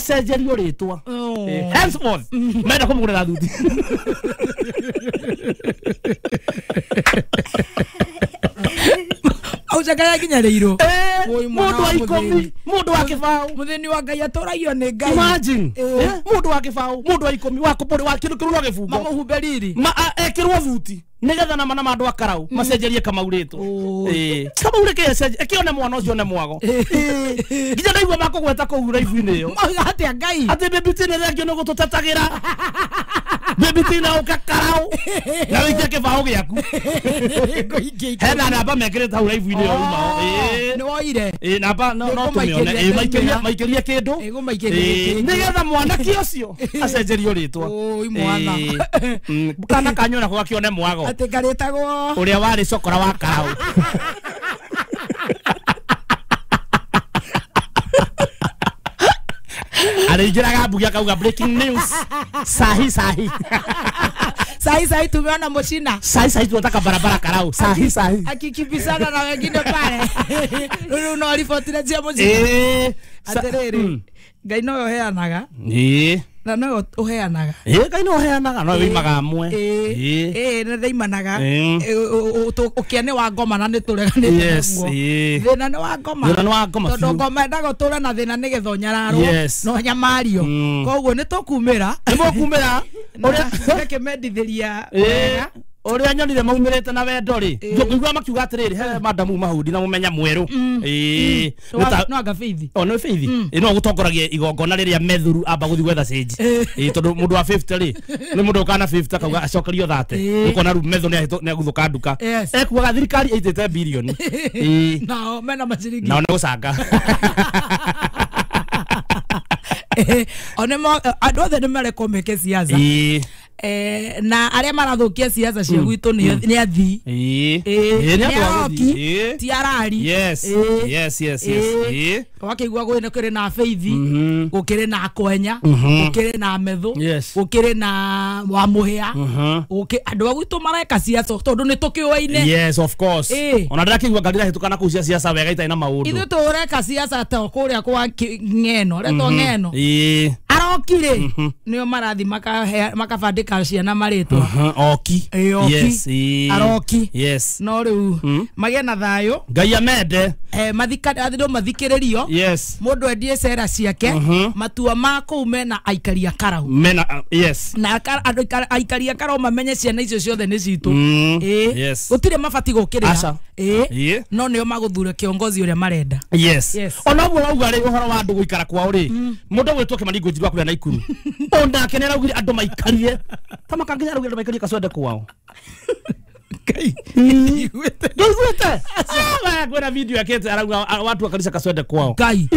Acenjerio rĩtwa. Henceforth menda kũmũgũrĩra thuti. Aucakaya nginya rĩirũ. Mũndũ wa ikũmi, mũndũ wa kĩbaũ. Mũthĩni wa Ngai atũragio nĩ Ngai. Imagine. Mũndũ wa kĩbaũ, mũndũ wa ikũmi, wa kũbũrĩ, wa kĩndũ kĩrũrwo gĩbungo. Mamũhumbe riri. Ekĩrwo thuti. Nĩgetha na mana ma andũ a Karau macenjerie Kamau rĩtwa. Kamau rĩkĩ ĩkĩone mwana ũcio nĩ mwago. Nginya ndaigua makũgweta kũu raibu-inĩ ĩyo. Mauga atĩa Ngai? Atĩ Baby T nĩ thengio nĩ gũtũtetagĩra. Baby T na ũka Karau. Na wĩikie kĩbaũ gĩaku. Hena namba mekĩrĩte hau raibu-inĩ ĩyo uma. Nĩ woire. Namba no tũmĩone. Maikĩrie kĩndũ. Nĩgetha mwanake ũcio acenjerio rĩtwa. Oi mwana. Kana kanyu nako gakĩone mwago. Atĩ karĩtagwo ũrĩa warĩ cokora wa Karau. Arĩingĩraga mbugi akauga breaking news. Sahi sahi. Sahi sahi tumeona Moshina. Sahi sahi tunataka barabara Karau. Sahi sahi. Akikimbizana na wengine pale. Rĩu no riboti cia Moshina. Atĩrĩrĩ, Ngai nowe ũheanaga. Na nowe ũheanaga. Ngai nowe ũheanaga, nowe wĩimaga amwe. Nĩ ndaimanaga. Ũkĩa nĩ wa ngoma na nĩ tũreganĩte naguo. Thĩna nĩ wa ngoma. Thĩna nĩ wa ngoma. Tondũ ngoma endaga ũtũre na thĩna nĩgetha ũnyararwo na ũnyamario. Koguo nĩ tũkumĩra. Nĩ mũkumĩra. Ũrĩa ndĩkĩmendithĩria wega. Ũrĩa nyonire maumĩrĩte na wendo rĩ, ngũigua makiuga atĩrĩrĩ, he madamu Mahudi na mũmenya mwerũ. No anga Faith. O no Faith. No gũtongoragia igongona rĩrĩa methuru amba gũthiĩ gwetha cĩnji. Tondũ mũndũ wa 50 rĩ, nĩ mũndũ ũkana 50 akauga acokerio 30. Ũkona rĩu methu nĩ agũthũka nduka. Ekuaga thirikari ĩitĩte birioni. Nao mena maciringi. Nao nĩ gũcanga. Andũ othe nĩ marekwo meke siasa. Na arĩa marathũkia siasa cia gwitũ nĩ athii. Nĩ aroki, ti arari. Yes. Yes, yes, yes. Wakĩigua gũkĩrĩ na Faith, gũkĩrĩ na Kwenya, gũkĩrĩ na Methu, gũkĩrĩ na Wamũhĩa. Andũ a gwitũ mareka siasa tondũ nĩ tũkĩũaine. Yes, of course. Ona ndĩrakĩigua ngari irahĩtũka na kũu cia siasa wega itarĩ na maũndũ. Ithuĩ tũreka siasa ta kũrĩa kwa Ng'eno, retwo Ng'eno. Aroki rĩ, nĩo marathi makabandĩka ciana marĩtwa. Oki. Yes. Aroki. Yes. No rĩu magĩe na thayũ. Ngai amende. Andũ mathikĩrĩrio. Yes. Mũndũ endie cera ciake. Matua ma kũu mena aikari a Karau. Mena yes. Na andũ aikari a Karau mamenye ciana icio ciothe nĩ citũ. Yes. Gũtirĩ mabatiĩ gũkĩrĩra. No nĩo magũthure kiongozi ũrĩa marenda. Yes. Ona ũguo wauga rĩ ũhoro wa andũ gũikara kwao rĩ, mũndũ ũgwĩtwo Kĩmani Ngũnjiri wa kũrĩa Naikuru. Onake nĩ araugire andũ maikarie. Ta makanginya araugire andũ maikarie Kaswende kwao. Ngai. Ndiguĩte. Kwĩna video yakĩte arauga watu wa kanitha Kaswende kwao. Ngai.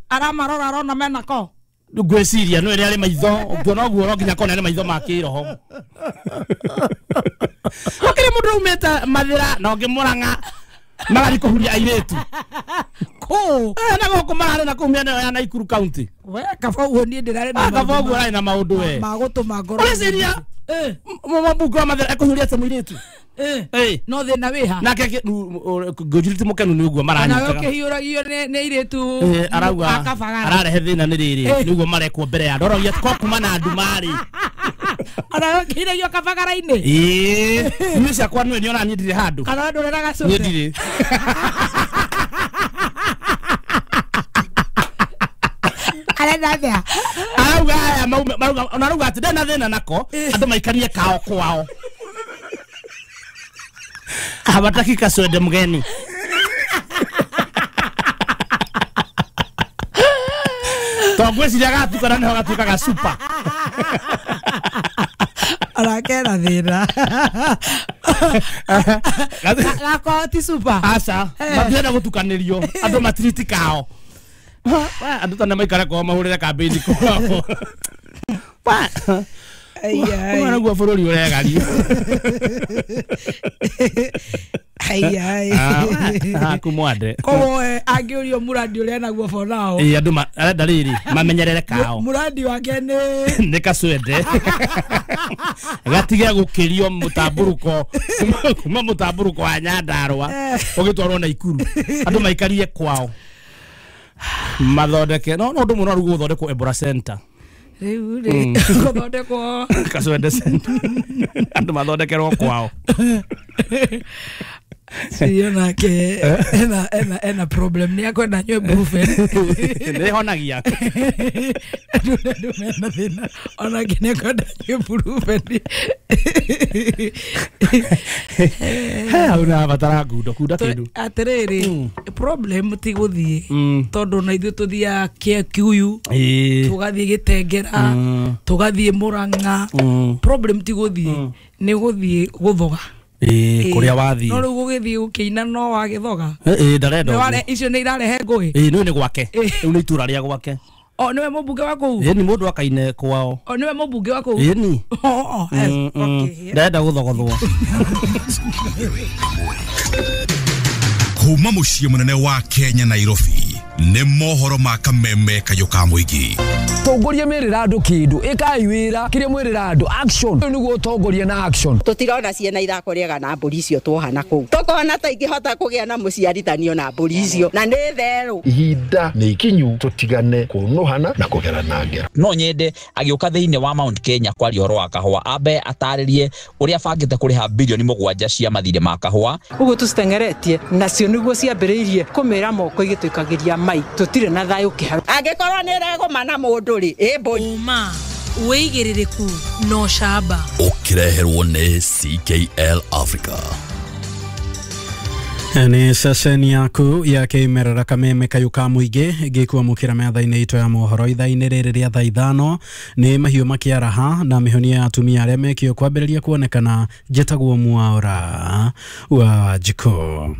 Aramarora arona mena ko. Ngwĩciria no ĩrĩa arĩ maitho, ũngĩona ũguo no nginya kona nĩ maitho ma kĩroho. Gũkĩrĩ mũndũ aumĩte Mathĩra na ũngĩ Mũrang'a magathiĩ kũhuria airĩtu. Kũ? Na gũkũ mararĩ na kũu mĩena ya Naikuru County. We kaba ũguo niĩ ndĩrarĩ na kaba ũguo ararĩ na maũndũ we. Ma gũtũma ngoro. Ũreciria mũmbunge wa Mathĩra ekũhuria atĩa mũirĩtu? No thĩna wĩha. Nake Ngũnjiri ti mũkenu nĩ ũguo maranyitaga. Nawe ũkĩhiũragio nĩ airĩtu arauga ararehe thĩna nĩ rĩrĩ nĩ ũguo marekwo mbere ya andũ. Aroria ko kuma na andũ marĩ. Ona ũkĩhiragio kabagara-inĩ. Niĩ ciakwa nĩwe nĩona niĩ ndirĩ handũ. Kana ndũreraga cũcũ. Niĩ ndirĩ. Arenda atĩa? Arauga aya marauga ona arauga atĩ ndena thĩna nako andũ maikarie kao kwao. Hawataki Kaswende mgeni. Tongwĩciria gatukana nĩho gatuĩkaga super. Arakera thĩna. Gakwa ti super. Aca, matirenda gũtukanĩrio, andũ matiriti kao. Andũ ta nĩ maikare kwao mahũrĩre kambĩini kwao. Ũguo nĩguo bũrũri ũregario. Haku mwande. Koguo angĩũrio mũrandi ũrĩa naguo for now. Andũ arenda rĩrĩ mamenyerere kao. Mũrandi wake nĩ Kaswende. Gatige gũkĩrio mũtambũrũko kuma mũtambũrũko wa Nyandarũa ũgĩtwarwo Naikuru. Andũ maikarie kwao. Mathondeke no no ndu muno rugu guthondekwo Ebola Center. Riu ri guthondekwo Kaswende Center. Andu mathondekerwo kwao. Sio nake ena problem ni akwenda nywe brufen. Ni honagia. Ndu mena thina ona kine akwenda nywe brufen. He una batara ngundo kunda kindu. Atiriri problem ti guthie tondu na ithuĩ tuthiaga Kikuyu tugathie Gitengera tugathie Murang'a. Problem ti guthie ni guthie guthoga. Kuria wathi no riu gugithie gukiina no wagithoga ndarenda icio ni irarehe ngui no ni gwake riu ni itura ria gwake. O niwe mubunge wa kuu ni mundu akaine kwao. O niwe mubunge wa kuu ni ndarenda guthogothwo. Kuma muciĩ munene wa Kenya Nairobi nĩ mohoro ma kameme kayũ ka mũingĩ. Tongoria merira andu kindu ikai wira kiria mwirira andu action niguo utongoria na action. Tutirona ciana ithako riega na mburi icio tuohana kuu tukona ta ingihota kugia na muciarithanio na mburi icio na ni theru. Ihinda ni ikinyu tutigane kunuhana na kugerana ngero. No nyende agiuka thiini wa Mount Kenya kwaria horo wa kahua ambe ataririe uria bangite kuriha bilioni 7 cia mathire ma kahua. Uguo tucitengeretie nacio niguo ciambiriirie kumira moko igituikagiria mai tutire na thayu kiharu. Angikorwo ni regoma mundu ri uma wigiririku no shaba ukireherwo ni CKL Africa. Ni ceceni yaku ya kĩmerera kameme kayũ ka mũingĩ gĩkwamũkĩra metha-inĩ itũ ya mohoro ithaa-inĩ rĩrĩ rĩa thaa 5 nĩ mahiũ makĩaraha na mĩhonia ya atumia arĩa mekio kwambĩrĩria kuonekana. Njĩtagwo Mwaura wa Njikũ.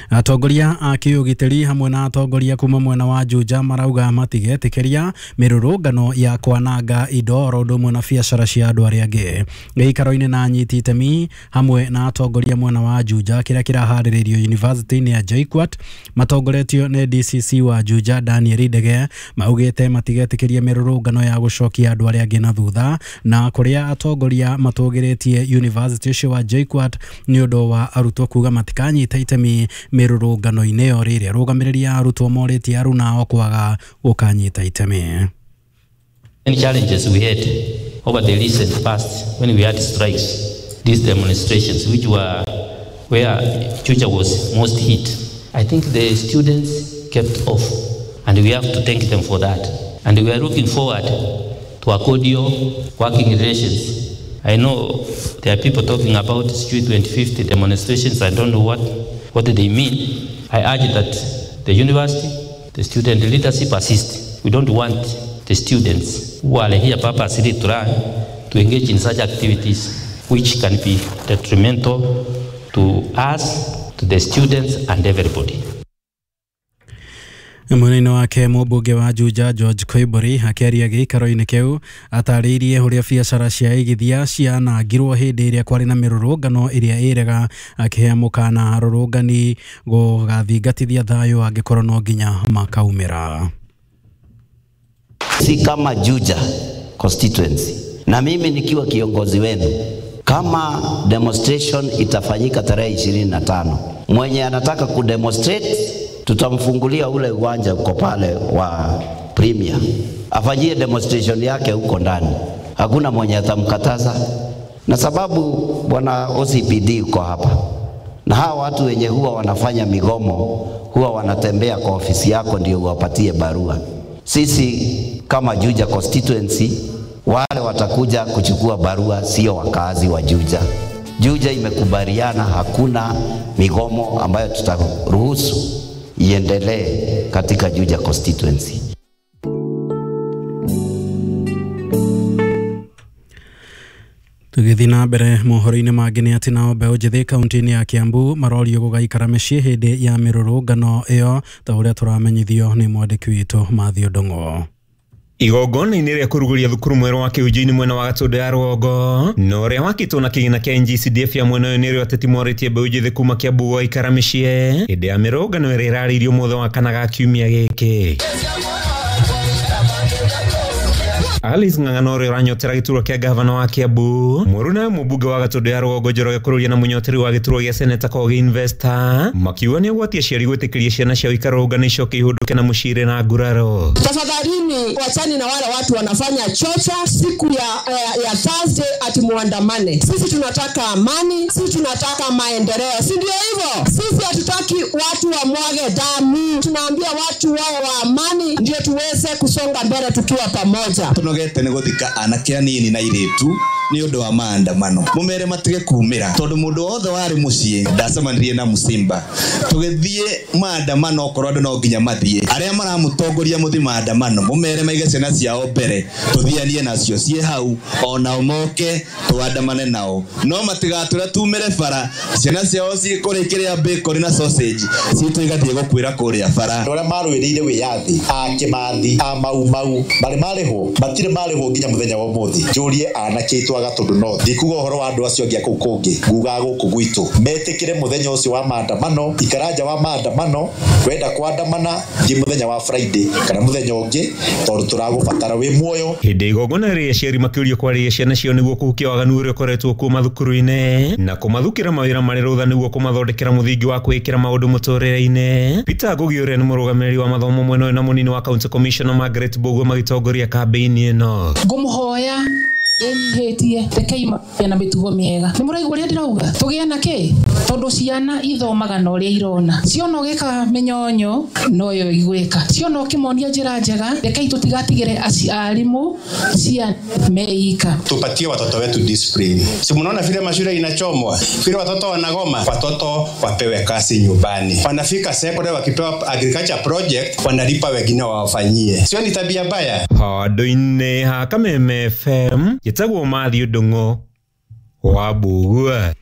Atongoria a kĩũgitĩri hamwe na atongoria kuma mwena wa Juja marauga matigetĩkĩria mĩrũrũngano ya kwananga indo oro ũndũ ũmwe na biacara cia andũ arĩa angĩ. Gĩikaro-inĩ na anyiti itemi hamwe na atongoria mwena wa Juja kĩrĩa kĩraharĩrĩrio University-inĩ ya JKUAT matongoretio nĩ DCC wa Juja Daniel Ndege maugĩte matigetĩkĩria mĩrũrũngano ya gũcokia andũ arĩa angĩ na thutha na kũrĩa atongoria matũgĩrĩtie University ũcio wa JKUAT nĩ ũndũ wa arutwo kuga matikanyita itemi mĩrũrũngano-inĩ ĩyo rĩrĩa arũgamĩrĩri a arutwo morĩtie aruna ao kwaga gũkanyita itemi. Many challenges we had over the recent past when we had strikes, these demonstrations which were where Juja was most hit. I think the students kept off and we have to thank them for that. And we are looking forward to a cordial working relations. I know there are people talking about Street 2050 demonstrations. I don't know what they mean. I urge that the university, the student leadership assist. We don't want the students who are here purposely to learn to engage in such activities which can be detrimental to us, to the students and everybody. Mwena-inĩ wake mũmbunge wa Juja George Koimburi akĩaria gĩikaro-inĩ kĩu atarĩirie ũrĩa biacara cia igithia cianangirwo hĩndĩ ĩrĩa kwarĩ na mĩrũrũngano ĩrĩa ĩrega akĩhe mũkana arũrũngani gũgathingatithia thayũ angĩkorwo no nginya makaumĩra. Si kama Juja constituency na mimi nikiwa kiongozi wenu, kama demonstration itafanyika tarehe 25, mwenye anataka kudemonstrate tutamfungulia ule uwanja uko pale wa Premier afanyie demonstration yake huko ndani, hakuna mwenye atamkataza. Na sababu bwana OCPD uko hapa, na hawa watu wenye huwa wanafanya migomo huwa wanatembea kwa ofisi yako ndio uwapatie barua. Sisi kama Juja constituency, wale watakuja kuchukua barua sio wakazi wa Juja. Juja imekubaliana hakuna migomo ambayo tutaruhusu iendelee katika Juja constituency. Tũgĩthiĩ na mbere mohoro-inĩ mangĩ nĩ atĩ nao mbeũ njĩthĩ kaunti-inĩ ya Kiambu marorio gũgaikara mĩciĩ hĩndĩ ya mĩrũrũngano ĩyo ta ũrĩa tũramenyithio nĩ mwandĩki witũ Mathew Ndung'u. Igongona-inĩ rĩa kũrugũria thukuru mwerũ wa Kĩhunjio-inĩ mwena wa Gatũndũ ya rũgongo na ũrĩa wakĩtwo na kĩgĩna kĩa NGCDF ya mwena ũyũ nĩrĩo ateti morĩtie mbeũ njĩthĩ kuma Kiambu gũgaikara mĩciĩ hĩndĩ ya mĩrũrũngano ĩrĩa ĩrarĩirio mũthenya wa kana ga kiumia gĩkĩ. Alice Ng'ang'ana ũrĩa ũranyotera gĩturwa kĩa gavana wa Kiambu mũruna mũmbunge wa Gatũndũ ya Rũgongo Njoroge Kururia na mũnyoteri wa gĩturwa gĩa seneta Kogi Investor makiuga nĩ ũgwati aciari gwĩtĩkĩria ciana ciao ikarũrũngana icoke ihũndũke na mũciĩ na nguraro. Tafadhalini wachani na wale watu wanafanya chocha siku ya Thursday ati muandamane. Sisi tunataka amani, sisi tunataka maendeleo, si ndio hivyo? Sisi hatutaki watu wamwage damu, tunaambia watu wao wa amani ndio tuweze kusonga mbele tukiwa pamoja. Tunogete nĩ gũthika anake anini na airĩtu nĩ ũndũ wa maandamano mũmere matige kumĩra tondũ mũndũ wothe warĩ mũciĩ ndacemanirie na mũcimba tũgĩthiĩ maandamano okorwo andũ no nginya mathiĩ arĩa maramũtongoria mũthiĩ maandamano mũmere maige ciana ciao mbere tũthianie nacio ciĩ hau onao moke tũandamane nao no matigatũre tumĩre bara ciana ciao cikũrĩa kĩrĩa bacon na sausage citũ igathiĩ gũkuĩra kũrĩa bara. Andũ arĩa marũĩrĩire wĩyathi a Kĩmathi a Mau Mau marĩ marĩhwo matirĩ marĩhwo nginya mũthenya wa ũmũthĩ. Njũrie anake aitũ a Gatũndũ North ndikuga ũhoro wa andũ acio angĩ a kũu kũngĩ ngugaga gũkũ gwitũ metĩkĩre mũthenya ũcio wa maandamano ikara nja wa maandamano wenda kuandamana thiĩ mũthenya wa Friday kana mũthenya ũngĩ tondũ tũragũbatara wĩ muoyo. Hĩndĩ igongona rĩrĩa aciari makĩũrio kwarĩria ciana ciao nĩguo kũhukia waganu ũrĩa ũkoretwo kuo mathukuru-inĩ na kũmathukĩra mawĩra marĩ rũtha nĩguo kũmathondekera mũthingi wa kwĩĩkĩra maũndũ mũtũrĩre-inĩ. Peter Ngugi ũrĩa nĩ mũrũgamĩrĩri wa mathomo mwena ũyũ na mũnini wa County Commissioner Margaret Mbugua magĩtongoria kambĩini ĩno. Ngũmũhoya ndĩnyihĩtie rekei magĩe na mĩtugo mĩega. Nĩ mũraigua ũrĩa ndĩrauga? Tũgĩe na kĩ? Tondũ ciana ithomaga na ũrĩa irona. Ciona ũgĩka mĩnyonyo noyo igwĩka. Ciona ũkĩmonia njĩra njega, rekei tũtigatigĩre arimũ ciana meika. Tupatie watoto wetu discipline. Si mnaona vile mashule inachomwa, vile watoto wanagoma, watoto wapewe kazi nyumbani. Wanafika secondary wakipewa agriculture project, wanalipa wengine wawafanyie. Sio ni tabia mbaya? Handũ-inĩ ha Kameme FM njĩtagwo Matthew Ndung'u wa Mbugua.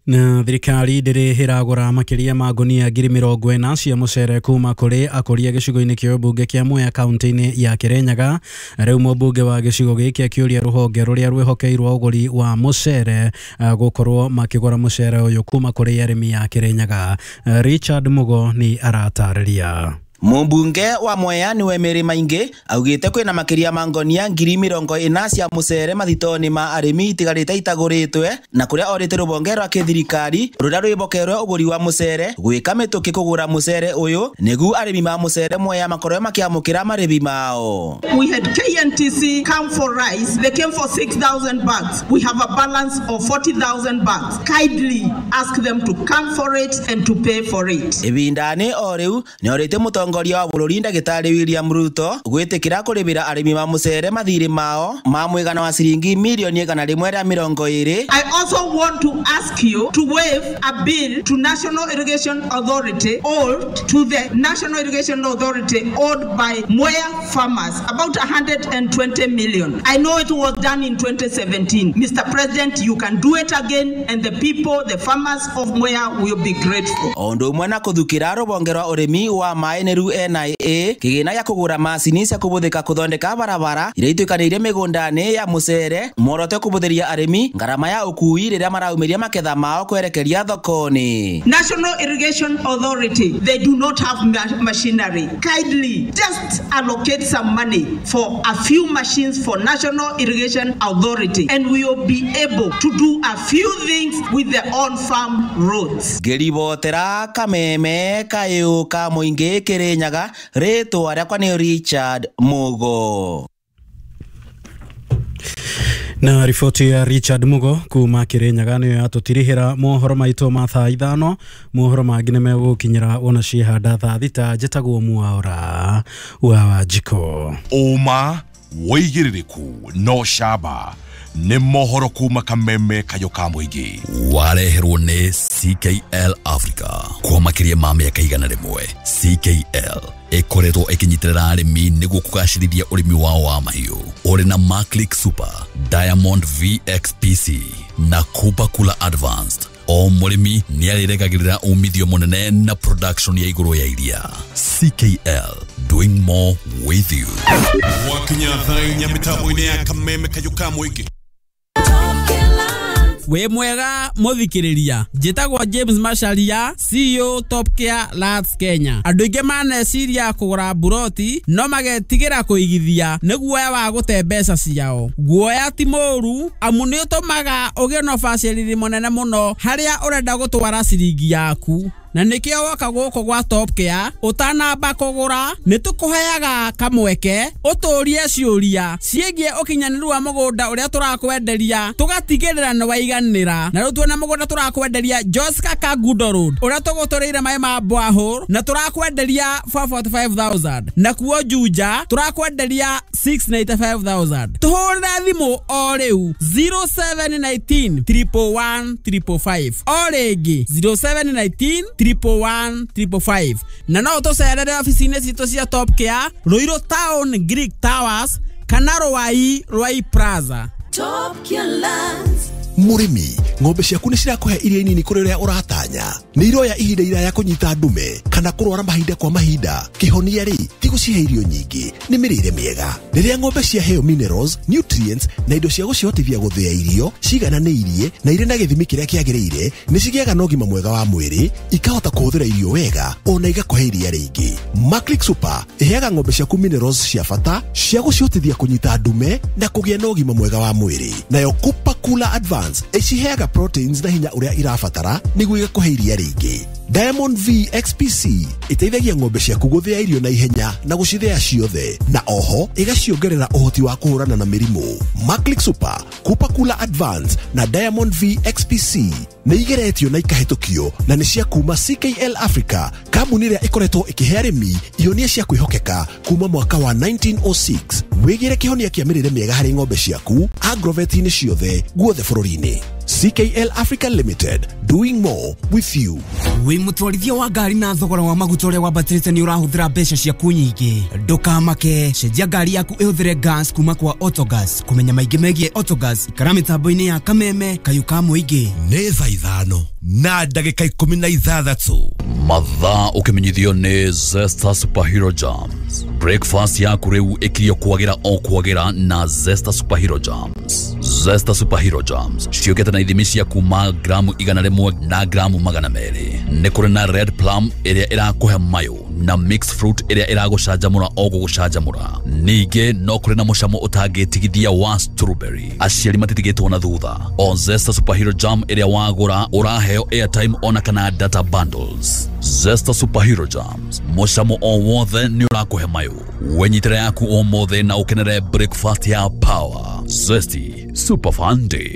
Na thirikari ndĩrĩ ĩragũra makĩria ma ngunia 40,000 cia mũcere kuma kũrĩ akũria gĩcigo-inĩ kĩa ũmbunge kĩa Mwea kaunti-inĩ ya Kĩrĩnyaga. Rĩu mũmbunge wa gĩcigo gĩkĩ akĩũria rũhonge rũrĩa rwĩhokeirwo ũgũri wa mũcere gũkorwo makĩgũra mũcere ũyũ kuma kũrĩ arĩmi a Kĩrĩnyaga. Richard Mugo nĩ aratarĩria. Mũmbunge wa Mwea niwe Mary Maingi augite kwina makiria ma ngonia 40,000 cia mucere mathitoni ma arimi itigarite itaguritwe na kuria orite rubonge rwa kithirikari ruria rwibokerwe uguri wa mucere gwika mituki kugura mucere uyu nigu arimi ma mucere Mwea makorwe makiamukira maribi mao. We had KNTC come for rice. They came for 6,000 bags. We have a balance of 40,000 bags. Kindly ask them to come for it and to pay for it. Ibindani o riu ni orite mutongoria wa bururi ndagitari William Ruto gwitikira kuribira arimi ma mucere mathiri mao ma mwigana wa ciringi milioni 120. I also want to ask you to waive a bill to National Irrigation Authority owed to the National Irrigation Authority owed by Mwea farmers about 120 million. I know it was done in 2017. Mr. President, you can do it again and the people, the farmers of Mwea will be grateful. Ondu umwe na kuthukira rubonge rwa urimi wa maĩ nĩ NIA kigina ya kugura macini cia kubuthika kuthondeka barabara iria ituikaniire migundani ya mucere muoroto kubuthiria arimi ngarama ya ukui riria maraumiria maketha mao kwerekeria thokoni. National Irrigation Authority, they do not have machinery. Kindly just allocate some money for a few machines for National Irrigation Authority and we will be able to do a few things with the on-farm roads. Ngiribotera Kameme kayu ka muingi Kirinyaga, ritwa riakwa ni Richard Mugo. Na riboti ya Richard Mugo kuma Kirinyaga niyo yatutirihira mohoro maitu ma thaa 5. Mohoro mangi ni megukinyira wona ciehanda thaa 6. Njĩtagwo Mwaura wa Wanjikũ. Ũma wĩigĩrĩrĩku no camba nĩ mohoro kuma Kameme kayũ ka mũingĩ wareherwo nĩ CKL Africa kwa makĩria ma mĩaka 100. CKL ĩkoretwo ĩkĩnyitĩrĩra arĩmi nĩguo kũgacĩrithia ũrĩmi wao wa mahiũ ũrĩ na Maclick Super, Diamond VXPC na Kupa Kula Advanced. O mũrĩmi nĩarĩregagĩrĩra umithio mũnene na production ya igũrũ ya iria. CKL, doing more with you. Wakinya thaa inya mĩtambo-inĩ ya Kameme kayũ ka mũingĩ. Wĩ mwega mũthikĩrĩria, njĩtagwo James Macharia, CEO Top Care Lands Kenya. Andũ aingĩ maneciria kũgũra mburoti no magetigĩra kũigithia nĩ guoya wa gũte mbeca ciao. Guoya ti mũũru amu nĩ ũtũmaga ũgĩe na ũbacĩrĩri mũnene mũno harĩa ũrenda gũtwara ciringi yaku. Na nĩkĩo woka gũkũ gwa Top Care ũtanamba kũgũra nĩ tũkũheaga kamweke ũtũrie ciũria ciĩgiĩ ũkinyanĩru wa mũgũnda ũrĩa tũrakwenderia tũgatigĩrĩra nĩ waiganĩra. Na rĩu tuona mũgũnda tũrakwenderia Joska Kangundo Road ũrĩa tũgũtũrĩire maĩ ma borehole na tũrakwenderia 445,000, na kuo Juja tũrakwenderia 695,000. Tũhũrĩre thimũ o rĩu 0719 111 555, o rĩngĩ 0719 111 555, na no ũtũcerere obici-inĩ citũ cia Top Care Ruiru Town Greek Towers kana Ruai Ruai Plaza. Top Care Lands. Mũrĩmi, ng'ombe ciaku nĩ cirakũhe iria nini kũrĩ ũrĩa ũratanya? Nĩ iroya ihinda iraya kũnyita ndume kana kũrwara mahinda kwa mahinda? Kĩhonia rĩ, ti gũcihe irio nyingĩ, nĩ mĩrĩre mĩega. Rĩrĩa ng'ombe ciaheo minerals, nutrients na indo cia gũcihotithia gũthĩa irio cigananĩirie na irĩ na gĩthimi kĩrĩa kĩagĩrĩire, nĩ cigĩaga na ũgima mwega wa mwĩrĩ, ikahota kũhũthĩra irio wega ona igakũhe iria rĩingĩ. Maclick Super ĩheaga ng'ombe ciaku minerals cia bata cia gũcihotithia kũnyita ndume na kũgĩa na ũgima mwega wa mwĩrĩ. Nayo Cooper Cooler Advance ĩciheaga proteins na hinya ũrĩa irabatara nĩguo igakũhe iria rĩingĩ. Diamond V XPC ĩteithagia ng'ombe ciaku gũthĩa irio na ihenya na gũcithĩa ciothe, na oho ĩgaciongerera ũhoti wa kũhũrana na mĩrimũ. Maclick Super, Cooper Cooler Advance na Diamond V XPC nĩ igeretio na ikahĩtũkio na nĩ cia kuma CKL Africa, kambuni ĩrĩa ĩkoretwo ĩkĩhe arĩmi ihonia cia kwĩhokeka kuma mwaka wa 1906. Wĩgĩre kĩhonia kĩa mĩrĩre mĩega harĩ ng'ombe ciaku agrovet-inĩ ciothe guothe bũrũri-inĩ. CKL Africa Limited, doing more with you. Wĩ mũtwarithia wa ngari na thogora wa maguta ũrĩa wambatĩrĩte nĩ ũrahũthĩra mbeca ciaku nyingĩ, ndũkamake, cenjia ngari yaku ĩhũthĩre gas kuma kwa Autogas. Kũmenya maingĩ megiĩ Autogas, ikara mĩtambo-inĩ ya Kameme Kayũ ka Mũingĩ. Nĩ thaa 5:16. Mathaa ũkĩmenyithio nĩ Zesta Superhero Jams. Breakfast yaku rĩu ĩkirio kwagĩra o kwagĩra na Zesta Superhero Jams. Zesta Superhero Jams ciũkĩte na ithimi cia kuma gramu 100 na gramu 200. Nĩ kũrĩ na red plum ĩrĩa ĩrakũhe mayũ na mixed fruit ĩrĩa ĩragũcanjamũra o gũgũcanjamũra. Ningĩ no kũrĩ na mũcamo ũtangĩtigithia wa strawberry. Aciari matitigĩtwo na thutha. O Zesta Superhero Jam ĩrĩa wagũra ũraheo airtime ona kana data bundles. Zesta Superhero Jams, mũcamo o wothe nĩ ũrakũhe mayũ. Wenyitĩra yaku ũmũthĩ na ũkenere breakfast ya power. Zesty Super Fun Day.